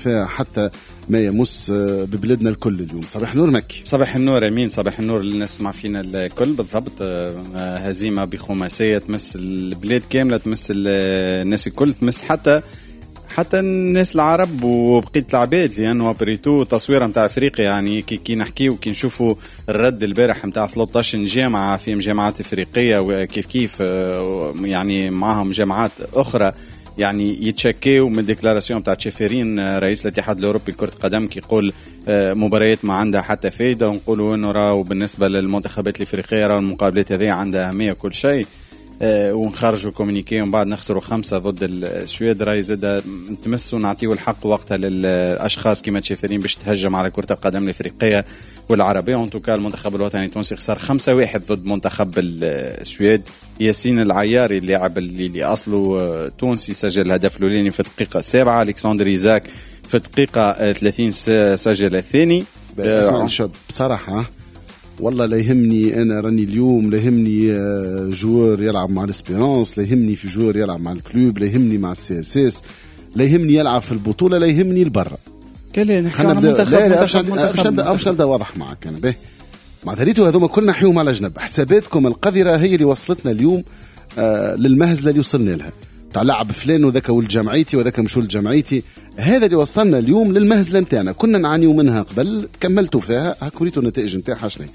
فيها حتى ما يمس ببلادنا الكل اليوم. صباح النور مكي. صباح النور امين، صباح النور للناس تسمع فينا الكل. بالضبط، هزيمة بخماسيه تمس البلاد كاملة، تمس الناس الكل، تمس حتى الناس العرب وبقية العباد، لانه après tout تصويره نتاع افريقيا. يعني كي نحكيو كي نشوفوا الرد البارح نتاع 13 جامعه في جامعات افريقية وكيف كيف يعني معاهم جامعات اخرى، يعني يتشكيو من déclaration تاع تشيفيرين رئيس الاتحاد الاوروبي لكرة القدم كي يقول مباريات ما عندها حتى فايده، ونقولوا انه راهو بالنسبة للمنتخبات الافريقية راهو المقابلات هذه عندها اهمية كل شيء، ونخرجوا communiqué ومن بعد نخسروا 5 ضد السويد. راهي زاد نتمسوا نعطيو الحق وقتها للاشخاص كيما تشيفيرين باش تهجم على كره القدم الافريقية والعربية. en tout cas المنتخب الوطني التونسي خسر 5-1 ضد منتخب السويد. ياسين العياري اللاعب اللي اصله تونسي سجل الهدف الاولاني في الدقيقة 7، الكسندر ايزاك في الدقيقة 30 سجل الثاني. بصراحة والله لا يهمني انا، راني اليوم لا يهمني joueur يلعب مع l'Espérance، لا يهمني في joueur يلعب مع ال Club، لا يهمني مع ال CSS، لا يهمني يلعب في البطولة، لا يهمني البرة. كلا نحكي على منتخب. باش نبدا واضح معك انا به معناتها ريتو هذوما كلنا نحيوهم على جنب. حساباتكم القذرة هي اللي وصلتنا اليوم للمهزله اللي وصلنا لها، تاع لعب فلان وذاك ولد جمعيتي وذاك مش ولد جمعيتي. هذا اللي وصلنا اليوم للمهزله نتاعنا، كنا نعانيو منها قبل، كملتوا فيها، هاك وريتوا النتائج نتاعها شنو.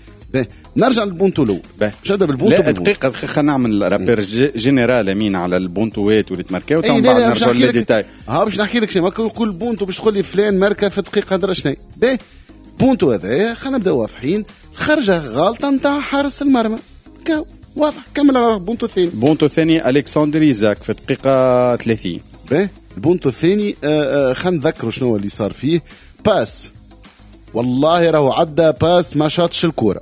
نرجع للبونتو الاول، باش نبدا بالبونتو. لا دقيقة خلينا نعمل rappel général امين على البونتوات واللي تماركاو، ومن بعد نرجعوا لل détails. باش نحكي لك شنو، كل بونتو باش تقول لي فلان ماركة في دقيقة درا شنو. باهي بونتو هذا خلينا نبداو واضحين، خرجه غلطه نتاع حارس المرمى، واضح. كمل على البونتو الثاني. بونتو الثاني الكسندر ايزاك في الدقيقة 30. باهي البونتو الثاني خلينا نذكروا شنو اللي صار فيه. passe والله راهو عدى passe ما شاطش الكورة،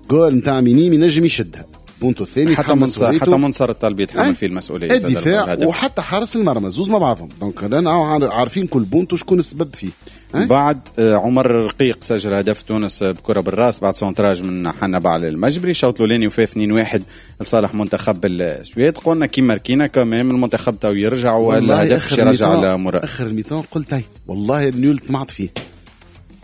جول نتاع مينيم ينجم يشدها. بونتو الثاني حتى منصر الطالبي يتحمل فيه المسؤولية، الدفاع وحتى حارس المرمى زوز مع بعضهم، donc رانا عارفين كل بونتو شكون السبب فيه. بعد عمر الرقيق سجل هدف تونس بكره بالراس بعد centrage من حنبعل المجبري. الشوط الاولاني وفاه 2-1 لصالح منتخب السويد. قلنا كي ماركينا كمان المنتخب تو يرجع والهدف باش يرجع على مراد. اخر ال mi-temps قلت والله ال nul طمعت فيه،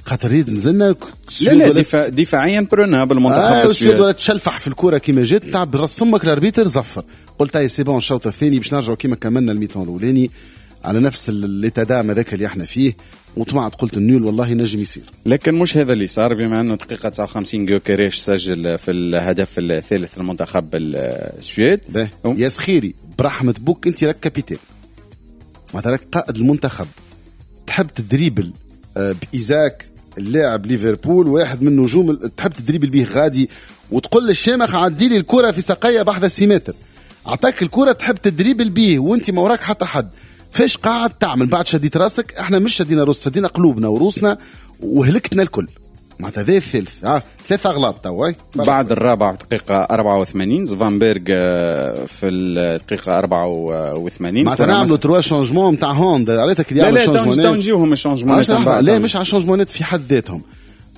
خاطر ريد نزلنا. لا لا دفاعيا برنا بالمنتخب السويد ولا تشلفح في الكره كيما جات تاع براس امك ال arbitre زفر. قلت هاي c'est bon الشوط الثاني باش نرجعوا كيما كملنا ال mi-temps الاولاني على نفس l'état d'âme هذاك اللي احنا فيه، وطمعت قلت ال nul والله نجم يصير. لكن مش هذا اللي صار، بما انه دقيقة 59 جوكريش سجل في الهدف الثالث للمنتخب السويد. يا سخيري برحمة بوك انت راك capitaine، معناتها راك قائد المنتخب، تحب تدريبل بإيزاك اللاعب ليفربول واحد من نجوم، تحب تدريبل به غادي وتقول للشامخ عدي لي الكره في ساقيه بحذا سيمتر، اعطاك الكره تحب تدريبل به وانت ما وراك حتى حد، فاش قاعد تعمل؟ بعد شديت راسك، احنا مش شدينا روس، شدينا قلوبنا وروسنا وهلكتنا الكل. معناتها هذا الثالث، ثلاثة اغلاط توا. بعد الرابع في دقيقة 84 زفانبرغ في الدقيقة 84. معناتها نعملوا trois changements نتاع هوندا، عرفتك اللي يعملوا changements. لا نجيوهم ال changements لا مش على ال changements في حد ذاتهم،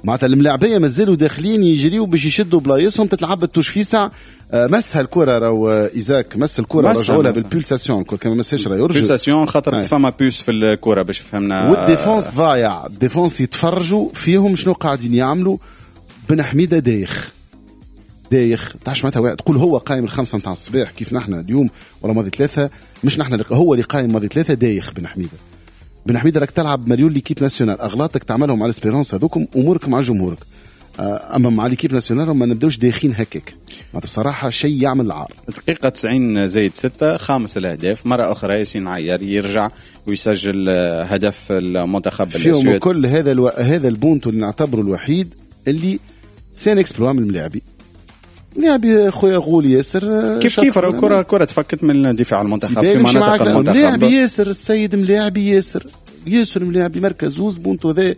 معناتها الملاعبيه مازالوا داخلين يجريوا باش يشدوا بلايصهم، تتلعب ال touche فيسع. مسها الكره راهو ايزاك مس الكره رجعوا لها بال pulsation، كان ما مسهاش راه يرجع pulsation خاطر فما puce في الكره باش فهمنا. وال défense ضايع، ال défense يتفرجوا فيهم شنو قاعدين يعملوا. بن حميده دايخ دايخ، تعرفش معناتها تقول هو قايم 5 نتاع الصباح كيف نحن اليوم ولا ماضي 3، مش نحن هو اللي قايم ماضي 3. دايخ بن حميده. بن حميده راك تلعب مريول l'équipe nationale، اغلاطك تعملهم على l'Espérance هذوكم امورك مع جمهورك، اما مع l'équipe nationale ما نبداوش داخين هكاك. بصراحة شيء يعمل العار. دقيقة 90 زايد 6 خامس الاهداف مرة اخرى ياسين عيار يرجع ويسجل هدف المنتخب السويد فيهم كل هذا هذا البونتو اللي نعتبره الوحيد اللي c'est un exploit من الملاعبي. ملاعبي خويا غول ياسر كيف كيف الكره تفكت من دفاع المنتخب في مناطق المنتخب. ملاعبي ياسر السيد، ملاعبي ياسر ياسر، ملاعبي مركز زوز بونتو ذا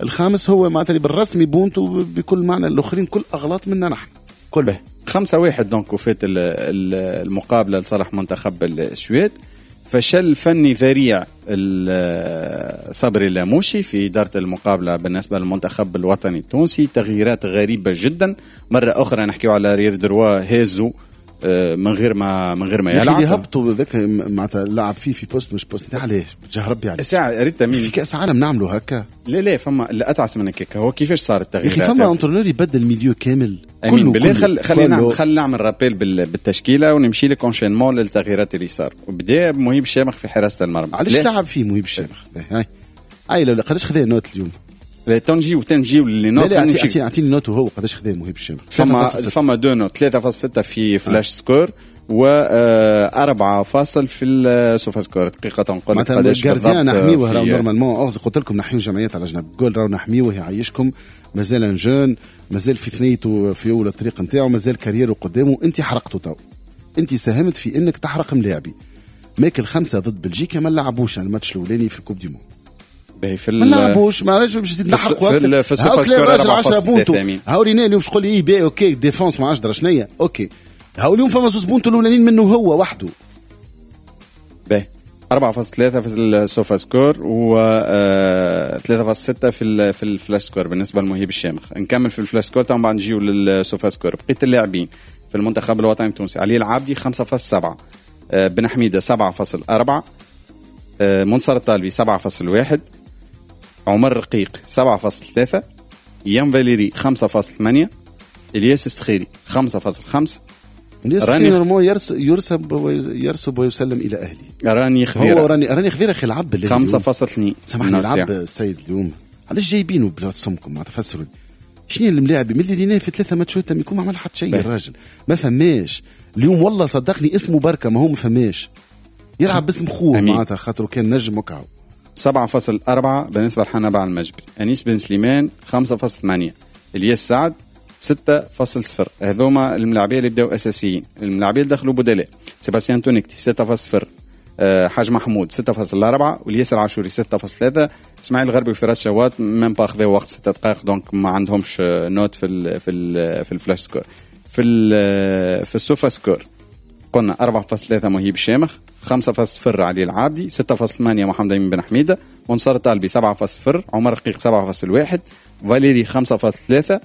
الخامس هو معناتها بالرسمي بونتو بكل معنى، الاخرين كل اغلاط منا نحن كل. 5-1 donc وفات المقابلة لصالح منتخب السويد. فشل فني ذريع صبري اللاموشي في إدارة المقابلة بالنسبة للمنتخب الوطني التونسي، تغييرات غريبة جدا. مرة أخرى نحكيو على arrière droit هازو من غير ما يلعب. اللي هبطوا ذاك معناتها لعب فيه في poste مش poste، علاش بجاه ربي علاش؟ ساعة ريت في كاس عالم نعملوا هكا؟ لا فما اللي اتعس من هكاك. هو كيفاش صار التغييرات؟ يا اخي فما entraîneur يبدل milieu كامل كله. بالله خلينا نعمل rappel بالتشكيله ونمشي لك enchaînement للتغييرات اللي صار. وبدا مهيب الشامخ في حراسة المرمى. علاش لعب فيه مهيب الشامخ؟ هاي لا قداش خذا note اليوم؟ تنجيو les notes. اعطيني note وهو قداش خذا مهيب الشامخ. فما deux notes، 3.6 في Flashscore و 4 فاصل في ال Sofascore. دقيقة نقول لك قداش بالضبط. gardien نحميوه راهو normalement، قلت لكم نحيو جمعيات على جنب، جول راهو نحميوه يعيشكم، مازال jeune، مازال في ثنيته في اول الطريق نتاعو، مازال carrière و قدامه. انت حرقته تو، انت ساهمت في انك تحرق ملاعبي. ماكل 5 ضد بلجيكا ما لعبوش الماتش الاولاني في ال Coupe du monde، ما لعبوش، ما عرفتش باش تزيد نحرق في ال Sofascore 10 بونتو. هاو رينا اليوم شغل اي بي OK défense ما عادش درا شنيا OK. هاو اليوم فما زوز بونتو الاولانيين منه هو وحده. باهي 4.3 في ال Sofascore و 3.6 في ال Flashscore بالنسبة لمهيب الشامخ. نكمل في ال Flashscore تو بعد نجيو لل Sofascore. بقية اللاعبين في المنتخب الوطني التونسي: علي العابدي 5.7، بن حميده 7.4، منصر الطالبي 7.1، عمر رقيق 7.3، يان فاليري 5.8، الياس السخيري 5.5. راني يرسب ويسلم الى اهله. راني خذيره، هو راني خذيره اخي لعب 5.2. سامحني لعب السيد اليوم، علاش جايبينه برسمكم؟ ما تفسروا شنو الملاعب من اللي ليناه في 3 ماتشات يكون ما عمل حتى شيء الراجل، ما فماش اليوم والله صدقني اسمه بركة، ما هو ما فماش يلعب باسم خوه معناتها خاطر كان نجم وكعو. 7.4 بالنسبة لحنبعل المجبري، أنيس بن سليمان 5.8، الياس سعد 6.0. هذوما الملاعبيه اللي بداو اساسيين. الملاعبيه اللي دخلوا بدلاء: سيباستيان تونيكتي 6.0، حاج محمود 6.4، والياس العاشوري 6.3، اسماعيل الغربي وفراس شوات même pas خذاو وقت 6 دقائق، donc ما عندهمش note في ال في ال في ال Flashscore. في ال Sofascore قلنا 4.3 مهيب الشامخ، 5.0 علي العابدي، 6.8 محمد أمين بن حميدة، منصر الطالبي 7.0، عمر رقيق 7.1، فاليري 5.3،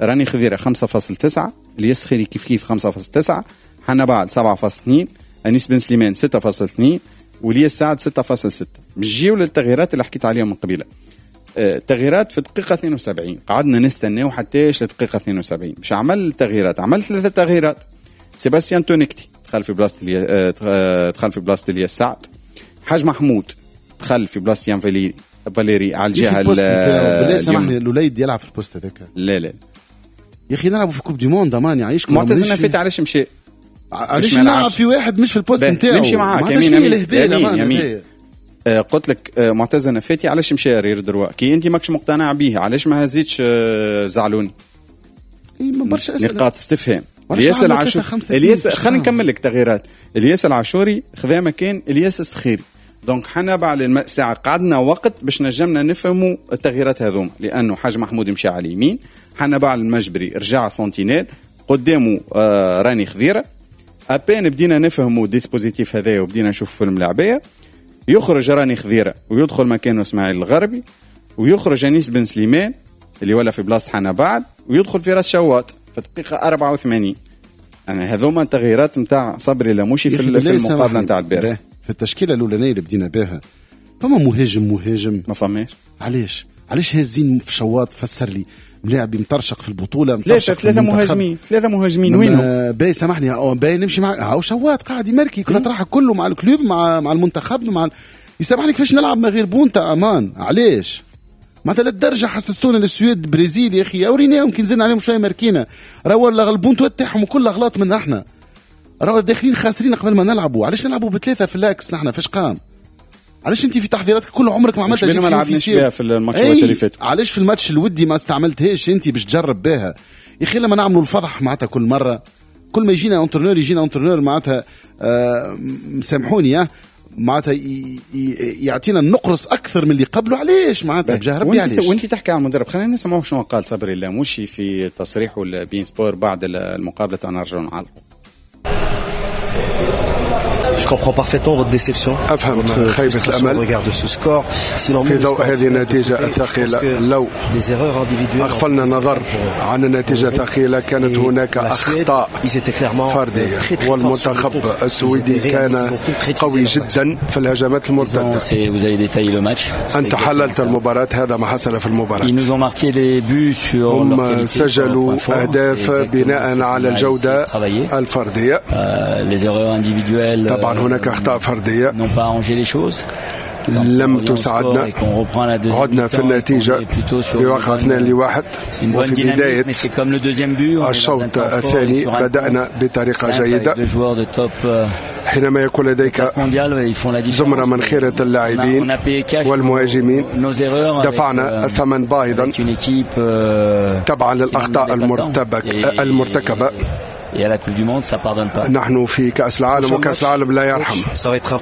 راني خذيرة 5.9، الياس خيري كيف كيف 5.9، حنبعل 7.2، أنيس بن سليمان 6.2، ولياس سعد 6.6. نجيو للتغييرات اللي حكيت عليهم من قبيلة. تغييرات في دقيقة 72، قعدنا نستناو حتى لدقيقة 72 باش عمل تغييرات. عمل 3 تغييرات: سيباستيان تونيكتي دخل في بلاصة دخل في بلاصة الياس سعد، حاج محمود دخل في بلاصة يان فاليري على الجهة بالله سامحني الوليد يلعب في ال poste هذاك. لا لا يا اخي نلعبوا في Coupe du monde امان يعيشكم. معتز نفيت علاش مشى؟ علاش نلعب في واحد مش في ال poste نتاعو؟ نمشي معاك يمين يمين. قلت لك معتز نفاتي علاش مشى arrière droit؟ كي انت ماكش مقتنع به علاش ما هزيتش زعلوني؟ برشا اسئلة، نقاط استفهام. الياس العاشوري، الياس خلينا نكمل لك تغييرات. الياس العاشوري خذا مكان الياس السخيري، donc حنا بعد ساعة قعدنا وقت باش نجمنا نفهموا التغييرات هذوما، لانه حاج محمود مشى على اليمين، حنبعل المجبري رجع sentinelle قدامه راني خذيره. à peine بدينا نفهموا dispositif هذايا وبدينا نشوف في الملاعبيه، يخرج راني خذيره ويدخل مكانه اسماعيل الغربي، ويخرج انيس بن سليمان اللي ولا في بلاصة حنبعل، ويدخل في راس شواط في دقيقة 84. انا هذوما التغييرات نتاع صبري لموشي في المقابلة نتاع البارح. في التشكيلة الاولانية اللي بدينا بها فما مهاجم ما فماش. علاش هازين في شواط؟ فسر لي. ملاعب مطرشق في البطولة، ثلاثة مهاجمين وينهم؟ باي سامحني باي نمشي مع هاو شواط قاعد يمركي كل طرحه كله مع ال club مع المنتخب مع يسامحني كيفاش نلعب من غير بونتا امان؟ علاش؟ معناتها للدرجة حسستونا للسويد برازيل يا اخي، اوريناهم كي نزلنا عليهم شوية ماركينا، راهو البونتو تاعهم كل غلط من احنا، راهو داخلين خاسرين قبل ما نلعبوا. علاش نلعبوا بثلاثة في l'axe نحن؟ فاش قام؟ علاش انت في تحضيراتك كل عمرك ما عملتها؟ ما لعبناش بها في الماتشات اللي فاتوا. علاش في الماتش الودي ما استعملتهاش انت باش تجرب بها؟ يا اخي لما نعملوا الفضح معناتها كل مرة، كل ما يجينا entraîneur يجينا entraîneur معناتها سامحوني معناتها يعطينا النقرس اكثر من اللي قبله. علاش معناتها بجاه ربي علاش؟ وانت تحكي على المدرب، خلينا نسمعوا شنو قال صبري اللاموشي في تصريحه لبين سبور بعد المقابلة. نرجعوا نعلقوا. Je comprends parfaitement votre déception. أفهم خيبة الأمل في ضوء هذه النتيجة الثقيلة. لو أغفلنا النظر عن النتيجة الثقيلة كانت هناك أخطاء فردية، والمنتخب السويدي كان قوي جدا في الهجمات المرتدة. أنت حللت المباراة، هذا ما حصل في المباراة. هم سجلوا أهداف بناء على الجودة الفردية. طبعا هناك أخطاء فردية لم تساعدنا. عدنا في النتيجة بواقع 2-1، وفي بداية الشوط الثاني بدأنا بطريقة جيدة. حينما يكون لديك زمرة من خيرة اللاعبين والمهاجمين دفعنا الثمن باهظا تبعا للأخطاء المرتكبة. نحن في كأس العالم، وكأس العالم لا يرحم.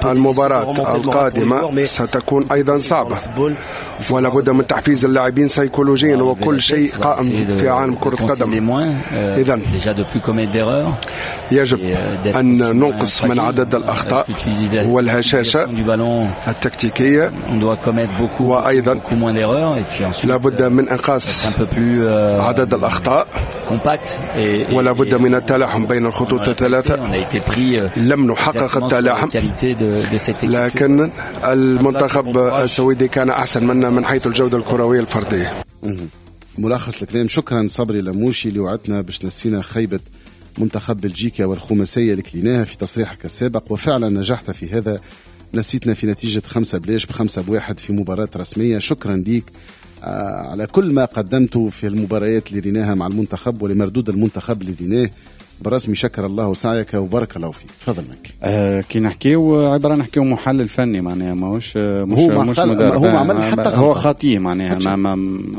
المباراة القادمة ستكون أيضا صعبة، ولا بد من تحفيز اللاعبين سيكولوجيا، وكل شيء قائم في عالم كرة القدم. إذن يجب أن ننقص من عدد الأخطاء والهشاشة التكتيكية، وأيضا لا بد من إنقاص عدد الأخطاء، ولا بد من التلاحم بين الخطوط الثلاثة. لم نحقق التلاحم، لكن المنتخب السويدي كان أحسن منا من حيث الجودة الكروية الفردية. ملخص الكلام. شكرا صبري لموشي اللي وعدتنا باش نسينا خيبة منتخب بلجيكا والخماسية اللي كليناها في تصريحك السابق، وفعلا نجحت في هذا. نسيتنا في نتيجة 5-0 ب5-1 في مباراة رسمية. شكرا ليك على كل ما قدمته في المباريات اللي ريناها مع المنتخب ولمردود المنتخب اللي ريناه برسمي. شكر الله سعيك وبارك الله فيك. تفضل منك. كي نحكيو عبارة نحكيو محلل فني، معناها ماهوش مش مدرب. هو عمل حتى هو خاطيه، معناها ما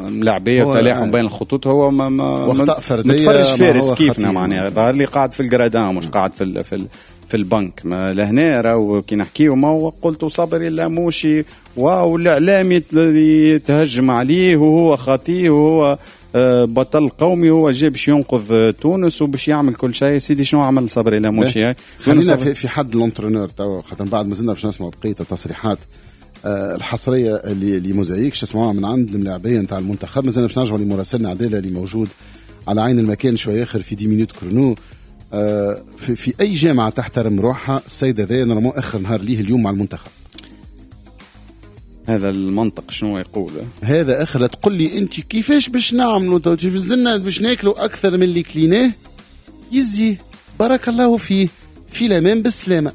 ملاعبيه وتلاحم بين الخطوط، هو ما واخطاء فردية. متفرج فارس كيفنا، معناها ظهر لي قاعد في ال gradins مش قاعد في البنك. ما لهنا راهو كي نحكيو ما هو قلت صبري اللاموشي والاعلام يتهجم عليه وهو خاطيه وهو بطل قومي، هو جاي باش ينقذ تونس وباش يعمل كل شيء. سيدي شنو عمل صبري لاموشي؟ خلينا في حد l'entraîneur توا، خاطر بعد مازلنا باش نسمعوا بقية التصريحات الحصريه اللي موزايك شسمعوها من عند الملاعبيه نتاع المنتخب. مازلنا باش نرجعوا لمراسلنا عدالة اللي موجود على عين المكان شوية اخر في 10 minutes chrono. في اي جامعه تحترم روحها السيد هذا normalement اخر نهار ليه اليوم مع المنتخب. هذا المنطق شنو يقول؟ هذا اخر. تقول لي انت كيفاش باش نعملوا زلنا باش ناكلوا اكثر من اللي كليناه؟ يزي بارك الله فيه في الامان بالسلامة.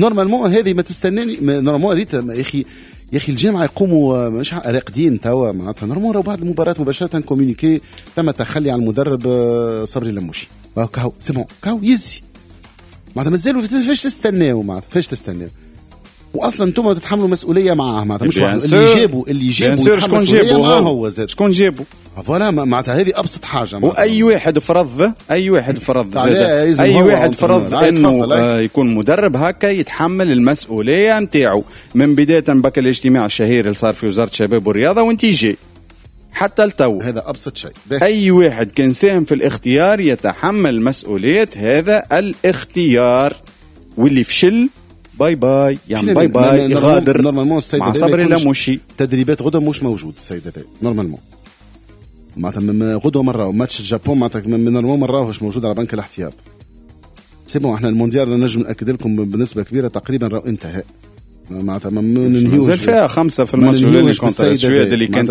normalement هذه ما تستناني. normalement ريت يا اخي، يا اخي الجامعة يقوموا مش راقدين توا معناتها. normalement بعد المباراة مباشرة communiqué تم التخلي عن المدرب صبري لموشي. كاو c'est bon كاو يزي معناتها. مازالوا فاش تستناو معناتها، فاش تستناو؟ واصلا انتم تتحملوا مسؤولية معاه معناتها، مش واحد اللي جابوا شكون جابوا هو زاد، شكون جابوا voilà معناتها. هذه ابسط حاجة. واي واحد فرض، اي واحد فرض زاد، اي واحد فرض انه يكون مدرب هكا يتحمل المسؤولية نتاعو من بداية بك الاجتماع الشهير اللي صار في وزارة الشباب والرياضة وانت جاي حتى التو. هذا أبسط شيء. أي واحد كان ساهم في الاختيار يتحمل مسؤولية هذا الاختيار، واللي فشل bye bye، يعني bye bye يغادر. normalement السيد مع صبري لموشي تدريبات غدا مش موجود السيد هذا normalement معناتها. غدوه مرة ماتش الجابون معناتها normalement مرة مش موجود على بنك الاحتياط. c'est bon احنا المونديال نجم ناكد لكم بنسبة كبيرة تقريبا راهو انتهى معناتها. ما ننهيوش مازال فيها 5 في الماتش الاولاني contre السويد اللي كانت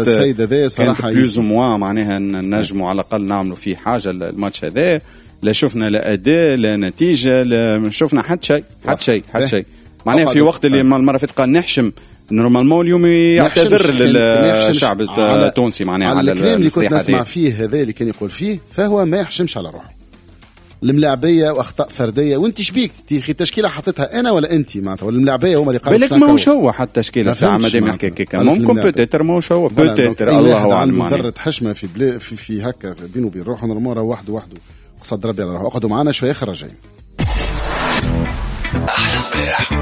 plus ou moins معناها نجموا على الاقل نعملوا فيه حاجة. الماتش هذا لا شفنا لا اداء لا نتيجة لا شفنا حتى شيء حتى شيء حتى شيء معناها. في وقت اللي المرة فاتت قال نحشم، normalement اليوم يعتذر للشعب التونسي معناها على الكلام اللي كنت نسمع فيه هذا اللي كان يقول فيه، فهو ما يحشمش على روحه. الملاعبيه واخطاء فردية، وانت شبيك تي تشكيله حطيتها انا ولا انت معناتها، ولا الملاعبيه هما اللي قالوا بالك ماهوش هو حتى تشكيله ساعة مادام يحكي هكاك ممكن peut-être ماهوش هو peut-être الله اعلم. مدرب حشمه في بلا في هكا بينه وبين روحه normalement راه وحده وحده قصد ربي على روحه. اقعدوا معنا شوية اخر راجعين. احلى صباح.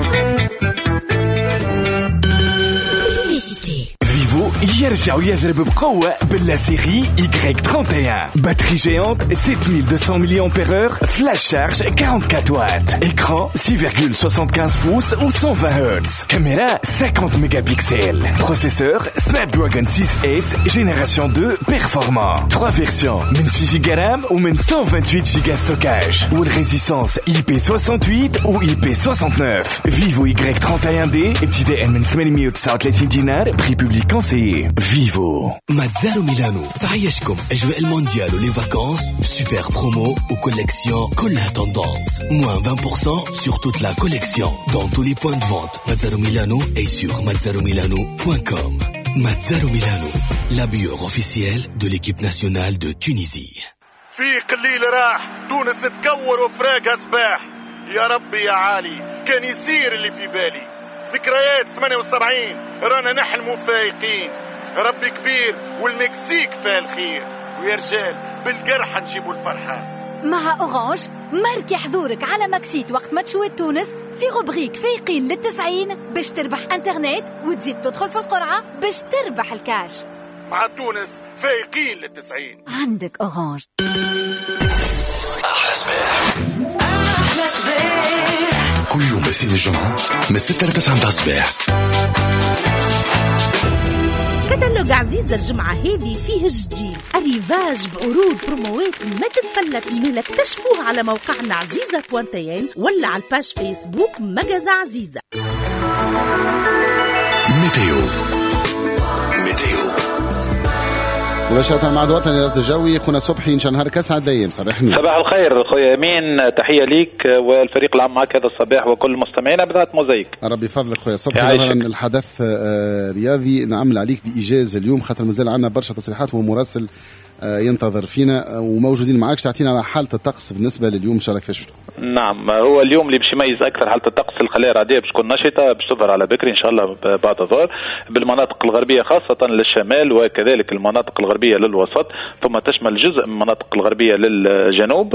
Vivo يرجع ويضرب بقوة ب la série Y31. Batterie géante 7200 mAh, flash charge 44 watts, écran 6,75 pouces ou 120 Hz, caméra 50 mégapixels, processeur Snapdragon 6S génération 2 performant, 3 versions من 6 Go RAM ou من 128 Go stockage وال résistance IP68 ou IP69. Vivo Y31D ابتداء من 839 دينار، prix public conseillé. Vivo. Mazzaro Milano تعيشكم أجواء المونديال و les vacances ب super promo و collection كلها tendance، moins 20% sur toute la collection dans tous les points de vente Mazzaro Milano et sur mazzaromilano.com. Mazzaro Milano, l'habilleur officiel de l'équipe nationale de Tunisie. فيق، الليل راح، تونس تكور وفراقها صباح. يا ربي يا عالي، كان يصير اللي في بالي. ذكريات 78، رانا نحلموا فايقين. ربي كبير والمكسيك فيها الخير، ويا رجال بالقرحة نجيبوا الفرحة. مع Orange، ماركي حضورك على Maxit وقت ماتشوات تونس في rubrique فايقين للتسعين باش تربح انترنت وتزيد تدخل في القرعة باش تربح الكاش. مع تونس فايقين للتسعين. عندك Orange. أحلى صباح. أحلى صباح. كل يوم من الجمعة من 6 ل 9 متاع الصباح. كتالوج عزيزة الجمعة هذه فيه جديد arrivage بعروض بروموات ما تتفلتش. مالا اكتشفوه على موقعنا عزيزة point tn ولا على ال page Facebook magasin عزيزة. météo météo. مباشرة مع وطني الرصد الجوي، خونا صبحي، ان شاء الله نهارك اسعد الايام، صباح النور. صباح الخير خويا امين، تحية ليك والفريق العام معك هذا الصباح وكل مستمعينا بذات موزايك. ربي يفضلك خويا صبحي. الحدث رياضي نعمل عليك بايجاز اليوم خاطر مازال عندنا برشا تصريحات ومراسل ينتظر فينا وموجودين معاك، تعطينا على حاله الطقس بالنسبة لليوم ان شاء الله كيفاش؟ نعم، هو اليوم اللي باش يميز اكثر حاله الطقس الخلايا الرعديه باش تكون نشطة، باش تظهر على بكري ان شاء الله بعد الظهر بالمناطق الغربية خاصة للشمال وكذلك المناطق الغربية للوسط، ثم تشمل جزء من المناطق الغربية للجنوب.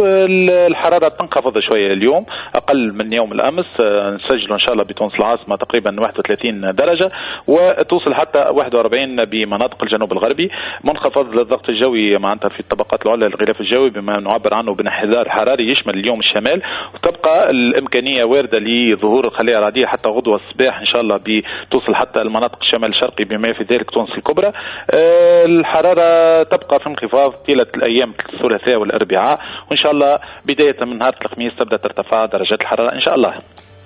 الحرارة تنخفض شوية اليوم اقل من يوم الامس، نسجل ان شاء الله بتونس العاصمة تقريبا 31 درجه وتوصل حتى 41 بمناطق الجنوب الغربي. منخفض للضغط الجوي معناتها في الطبقات العليا للغلاف الجوي بما نعبر عنه بانحدار حراري يشمل اليوم الشمال، وتبقى الامكانية وارده لظهور الخلايا الرعديه حتى غدوه الصباح ان شاء الله بتوصل حتى المناطق الشمال الشرقي بما في ذلك تونس الكبرى. الحرارة تبقى في انخفاض طيلة الايام الثلاثاء والاربعاء، وان شاء الله بداية من نهار الخميس تبدا ترتفع درجات الحرارة ان شاء الله.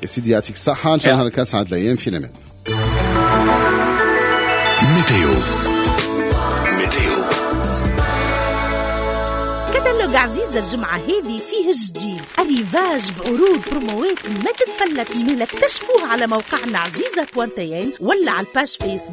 يا سيدي يعطيك الصحة، ان شاء الله نهارك اسعد الايام، في الامان. météo météo. كتالوج عزيزة الجمعة هذه فيه جديد arrivage بعروض بروموات ما تتفلتش. مالا اكتشفوه على موقعنا عزيزة point tn ولا على ال page Facebook.